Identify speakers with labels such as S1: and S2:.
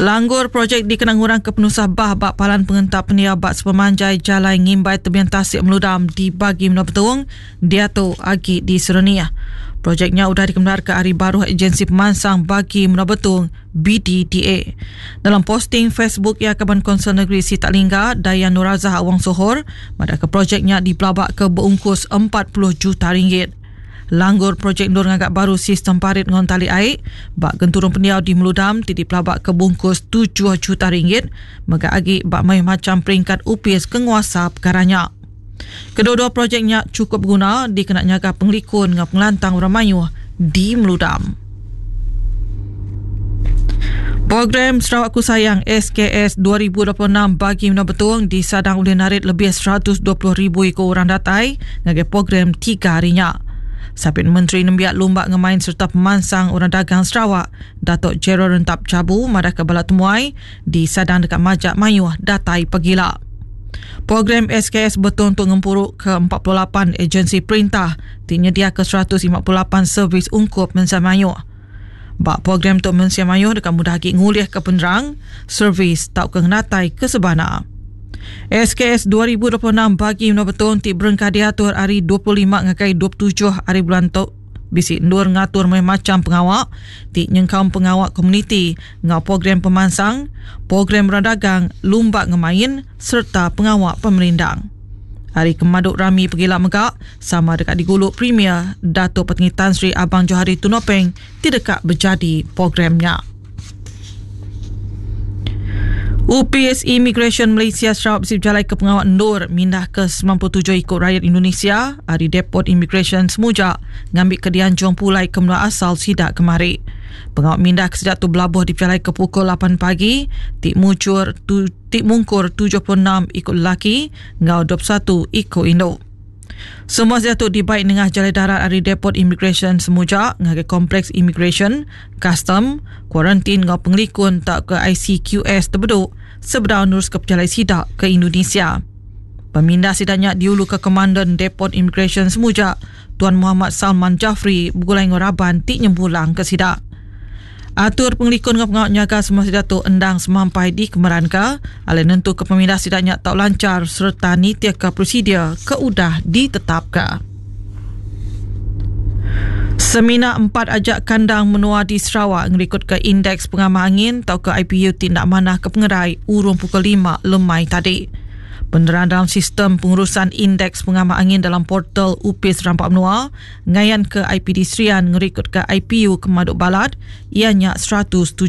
S1: Langgur projek dikena ngurangka penusah bah ba palan pengentap pendiau ba sepemanjai Jalai Ngimbai Tebing Tasik Meludam di Bagi Menua Betong diatu agi diserenih. Projek nya udah dikemendarka ari baruh Ejensi Pemansang Bagi Menua Betong, BDDA. Dalam posting Facebook iya Kaban Konsel Negeri Sitak Lingga, Dayang Nurazah Awang Sohor madahka projek nya dipelabaka beungkus 40 juta ringgit. Langgur projek endur ngaga baru sistem parit enggau entali ai ba genturung pendiau di Meludam ti dipelabaka bungkus tujuh juta ringgit mega agi ba mayuh macham peringkat opis ke nguasa pekara nya. Kedua-dua projek nya chukup beguna dikena nyaga pengelikun enggau pengelantang orang mayuh di Meludam. Program Sarawakku Sayang SKS 2026 bagi Menua Betong disadang ulih narit lebih 120,000 iku orang datai ngagai program tiga hari nya. Sapit Menteri Nembiak Lumba Ngemain sereta Pemansang Orang Dagang Sarawak, Datuk Gerald Rentap Jabu madahka bala temuai disadang deka majak mayuh datai pegila. Program SKS Betong tu ngempuru ke 48 ejensi perintah ti nyediaka 158 servis ungkup mensia mayuh. Ba program tu mensia mayuh deka mudah agi ngulihka penerang, servis tauka ngenatai ke sebana. SKS 2026 bagi menua Betong ti berengkah diatur ari 25 ngagai 27 hari bulan tu bisi endur ngatur mayuh macham pengawa ti nyengkaum pengawa komuniti enggau program pemansang, program orang dagang, lumba ngemain sereta pengawa pemerindang. Hari kemadu rami pegila mega sama deka digulu Premier Datuk Patinggi Tan Sri Abang Johari Tun Openg ti deka bejadi program nya. Opis Imigresen Malaysia Sarawak bisi bejalaika pengawa endur mindahka 97 iku rayat Indonesia ari Depot Imigresen Semuja ngambika dianjung pulai ke menua asal sida kemari. Pengawa mindah ke sida tu belabuh dipejalaika pukul 8 pagi ti mujur tu ti mungkur 76 iku lelaki enggau 21 iku indu. Semua sida tu dibai nengah jalai darat ari Depot Imigresen Semuja ngagai Kompleks Imigresen, Kastam, Kuarantin enggau Pengelikun tauka ICQS Tebedu sebedau neruska pejalai sida ke Indonesia. Pemindah sida nya diuluka Komandan Depot Imigresen Semuja, Tuan Muhammad Salman Jafri begulai enggau raban ti nyempulangka sida. Atur pengelikun enggau pengawa nyaga semua sida tu endang semampai dikemeranka alai nentuka pemindah sida nya tau lanchar sereta nitihka prosedur ke udah ditetapka. Semina empat aja kandang menua di Sarawak ngerikutka Indeks Pengamah Angin tauka IPU ti enda manah ke pengerai urung pukul lima lemai tadi. Penerang dalam Sistem Pengurusan Indeks Pengamah Angin dalam portal Opis Rampa Menua Ngayanka IPD Serian ngerikutka IPU ke pemadu balat iya nya 170.